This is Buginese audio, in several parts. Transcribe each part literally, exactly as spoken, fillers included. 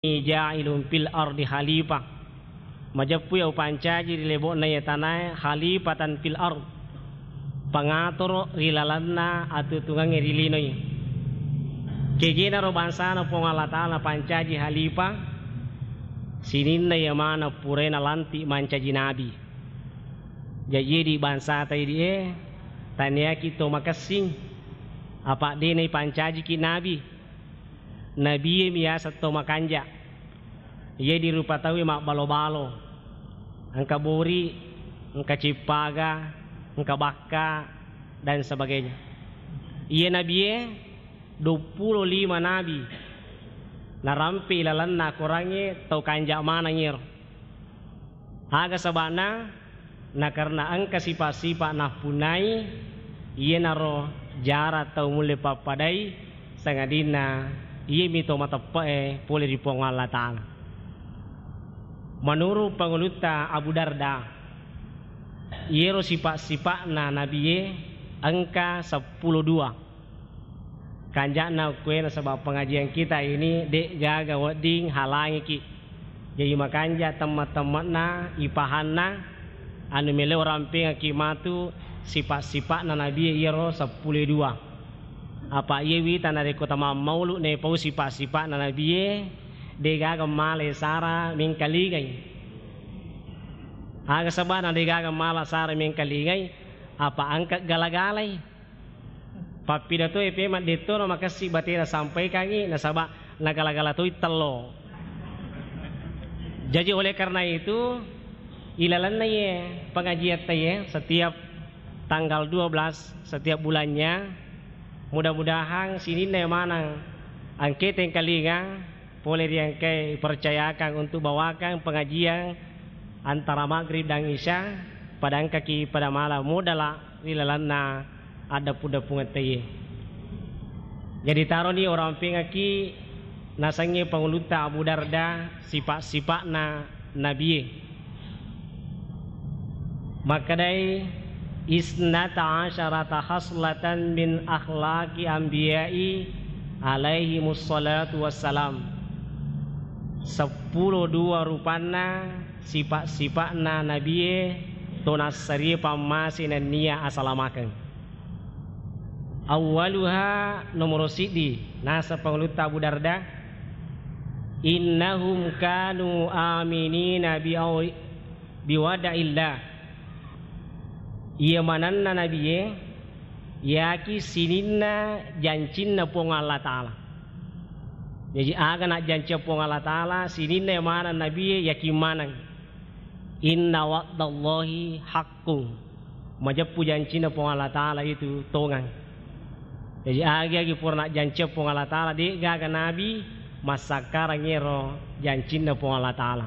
ja'ilun fil ardi khalifah. Majeppui upancaji ri lebo'na iye tanae khalifatan fil ard, pangatoro ri lalenna atutungengnge ri linoe. Kegenaro bangsana Puang Allah Ta'ala pancaji khalifah, sininna iya maneng purae nalanti mancaji nabi. Jaji idi bangsata idi e, taniaki to makessing, apa de naipancajiki nabi. Nabie mi yaseng to makanja. Iye di rupa tauwe mabbalo-balo, engka bori, engka cippaga, engka bakka, dan sebagainya. Iye nabie duappulo lima nabi narampe ilalenna Korangnge tau kanja maneng iyaro. Aga saba'na? Na karena engka sipa-sipa nappunnai, iyanaro jara tau mulle pappadai, sangadinna iyami to mateppe'e pole ri Puang Allah Ta'ala. Menurut Pangulutta Abu Darda, iyero sipa-sipa'na nabie engka seppulo dua. Kanja'na okkoe nasaba pengajian kita ini de'gaga wedding halangiki. Jaji makanja temma-temmakna ipahanna anu melo rampengaki matu sipa-sipa'na nabie iyaro seppulo dua. Apa iye wita narekko tamammaulu nepau sipa-sipa'na nabie de'gaga male sara mengkalingai. Aga sabana de'gaga mala sara mengkalingai, apa engka gala-galai. Pappidato e pemang detto na makessi batena sampaikangi nasaba nagala-gala toi tello. Jadi oleh karena itu, ilalenna ye pengajian ta ye setiap tanggal dua belas setiap bulannya, mudah-mudahan sininna manang angke tengkalinga pole ri engkae ipercayakan untuk bawakan pengajian antara maghrib dan isya, pada engkaki pada mala modala ri lalenna addapu-dapungettei ye. Jadi taroni orang pengaki nasengnge Pangulutta Abu Darda sipa-sipa'na nabie. Makkedai, "Isnata asyarata khaslatan min akhlaqi anbiya'i alaihi mussalatu wassalam." Seppulo dua rupanna sipa-sipa'na nabie to nassarie pammase nennia asalamakeng. Awwaluha, nomoro siddi, naseng Pangulutta Abu Darda, "Innahum kanu aminina bi au-, biwada'illah." Iya manenna nabie, yaki sininna jancinna Puang Allah Ta'ala. Jaji aga najjancia Puang Allah Ta'ala, sininna maneng nabie yakin maneng. "Inna wa'dallahi haqqun." Majeppu jancinna Puang Allah Ta'ala itu tongang. Jaji agi-agi pura najjancia Puang Allah Ta'ala, de'gaga nabi massakkarang ero jancinna Puang Allah Ta'ala.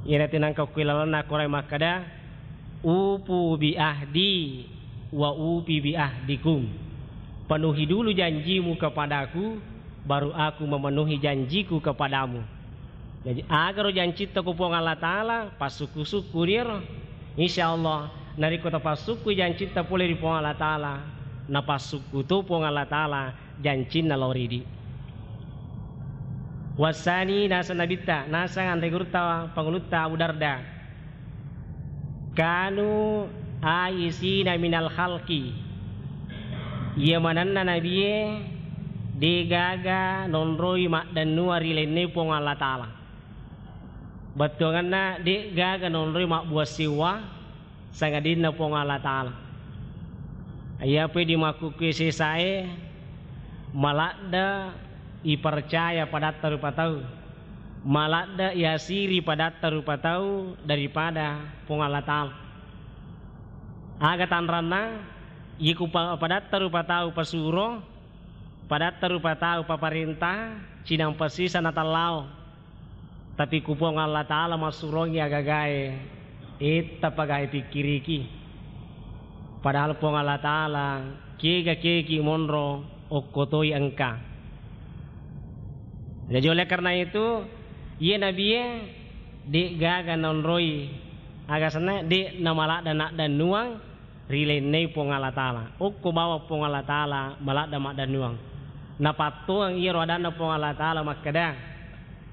Iyana tenangka kuilalanna Quran makkada, "Ufu bi ahdi wa ufi bi ahdikum." Penuhi dulu janjimu kepadaku, baru aku memenuhi janjiku kepadamu. Jaji, agaro jancitta ko Puang Allah Ta'ala, passukku-sukku riero. Insya Allah, narekko tapassukku jancitta pole ri Puang Allah Ta'ala, napassukku to Puang Allah Ta'ala jancinna lao ridi. Wassani, naseng nabitta, naseng anre gurutta Pangulutta Abu Darda. Kanu aisina minal khalqi. Iya manenna nabie, de'gaga nonroi maddennuang ri lainna Puang Allah Ta'ala. Bettuangenna, de'gaga nonroi mabbua siwa sangadinna Puang Allah Ta'ala. Iyapi di makkukkue sesae, maladde ipercaya padatta rupa tau. Maladde iasiri padatta rupa tau daripada Puang Allah Ta'ala. Aga tanranna, iku pa-, padatta rupa tau pasuro, padatta rupa tau paparenta, cinampa sisa natallao. Tapi ku Puang Allah Ta'ala massurongi agagae, etta pagae pikkiriki. Padahal Puang Allah Ta'ala, kega-kegi monro, okkotoi engka. Jadi oleh karena itu, iye nabie, de'gaga naonroi, aga senna, de' namaladda naddennuang, ri lainna Puang Allah Ta'ala. Okko bawang Puang Allah Ta'ala maladda maddennuang. Napattuang iyaro adanna Puang Allah Ta'ala makkeda,